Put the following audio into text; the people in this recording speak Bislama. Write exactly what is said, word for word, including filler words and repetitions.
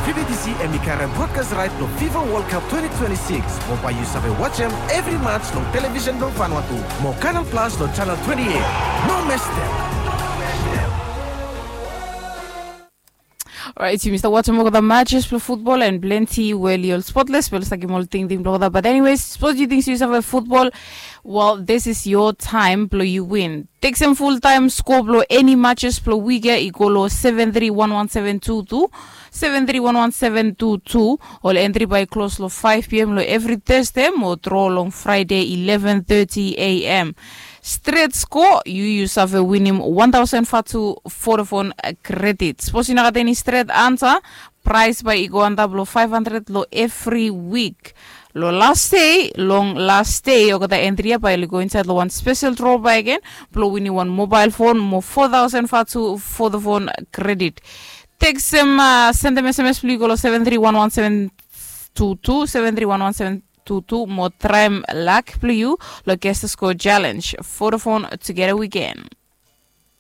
Vividisi em i karem brodkas raet blong fifa wol kap twenty twenty-six. Mo bae yu save wajem evri mats long televisen blong Vanuatu. Mo kanal plas long chanel twenty-eight. No mestem. Orait yumi stap wajem olgeta matches blong futbol and plenti we oli ol spotles be oli stap givim ol tingting blong olgeta. Bat anyways, sapos yu ting se yu save futbol, well, this is your time blong yu win. Teksem fultaem skoa blong eni matches blong wik ya i go long seven three one one seven two two, seven three one one seven two two. Ol entri bae i klos long five p.m. long evri Thursday mo dro long Friday eleven thirty a.m. Stret skoa, yu yu save winim one thousand vatu Vodafone credit. Sapos yu no gat eni stret ansa, praes bae i go antap long five hundred long evri wik. Long las dei, long las dei olgeta entri ya bae oli go insaed long wan spesel dro bakegen blong winim wan mobael fon mo four thousand vatu Vodafone credit. Teksem, sendem sms blong yu go long seven three one one seven two two, seven three one one seven two two mo traem lak blong yu long Guess the Score Challenge. Vodafone, together we can.